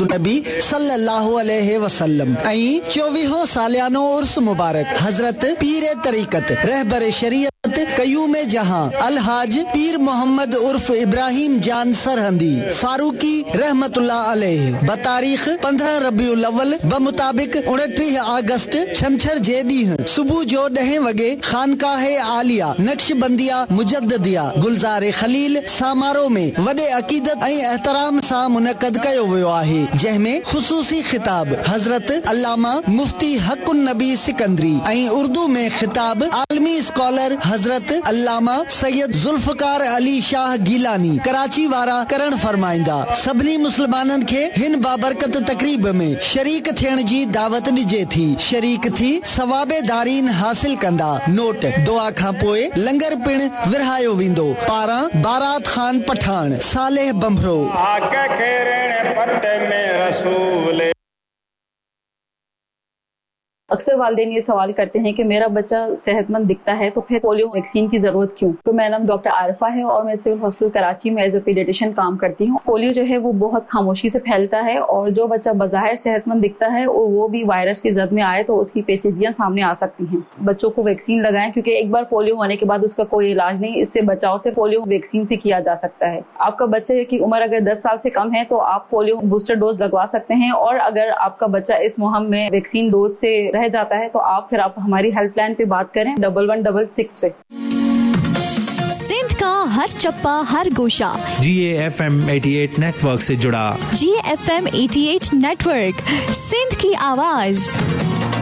النبي صلي الله عليه وسلم ۽ چوويهون ساليانو عرس مبارڪ حضرت پير طريقت رهبر شريعت قيوم جهان الحاج پير محمد عرف ابراهيم جان سرهندي فاروقي رحمة الله عليه بتاريخ 15 ربيع الاول بمطابق 29 آگسٽ ڇنڇر جي ڏينهن صبح جو ڏهين وڳي خانقاه عاليه نقشبنديه مجدديه گلزار خليل سامارو ۾ وڏي عقيدت ۽ احترام سان منعقد ڪيو ويو آهي، جنهن ۾ خصوصي خطاب حضرت علامه مفتي حق النبي سڪندري ۽ اردو ۾ خطاب عالمي اسڪالر حضرت علامه سيد ذوالفقار علي شاهه گيلاني ڪراچي وارا ڪرڻ فرمائيندا. سڀني مسلمانن کي هن بابرڪت تقريب ۾ شريڪ ٿيڻ جي دعوت ڏجي ٿي. شريڪ ٿي ثواب دارين حاصل ڪندا. نوٽ، دعا کان پوء لنگر پڻ ورهايو ويندو. پاران بارات خان پٺاڻ، صالح ڀنڀرو. آڪ کيرڻ پٽ ۾ رسول. अक्सर वालिदैन ये सवाल करते हैं कि मेरा बच्चा सेहतमंद दिखता है तो फिर पोलियो वैक्सीन की जरूरत क्यों? तो मेरा नाम डॉक्टर आरिफा है और मैं सिविल हॉस्पिटल कराची में एज अ पीडियाट्रिशियन काम करती हूँ। पोलियो जो है वो बहुत खामोशी से फैलता है और जो बच्चा बज़ाहिर सेहतमंद दिखता है वो भी वायरस की जद में आए तो उसकी पेचीदगियां सामने आ सकती हैं। बच्चों को वैक्सीन लगाएं क्योंकि एक बार पोलियो होने के बाद उसका कोई इलाज नहीं, इससे बचाव से पोलियो वैक्सीन से किया जा सकता है। आपका बच्चे की उम्र अगर 10 साल से कम है तो आप पोलियो बूस्टर डोज लगवा सकते हैं और अगर आपका बच्चा इस मुहिम में वैक्सीन डोज से रह जाता है तो आप फिर आप हमारी हेल्पलाइन पे बात करें 1166 पे। सिंध का हर चप्पा हर गोशा जी एफ एम 88 नेटवर्क से जुड़ा। जी एफ एम 88 नेटवर्क, सिंध की आवाज।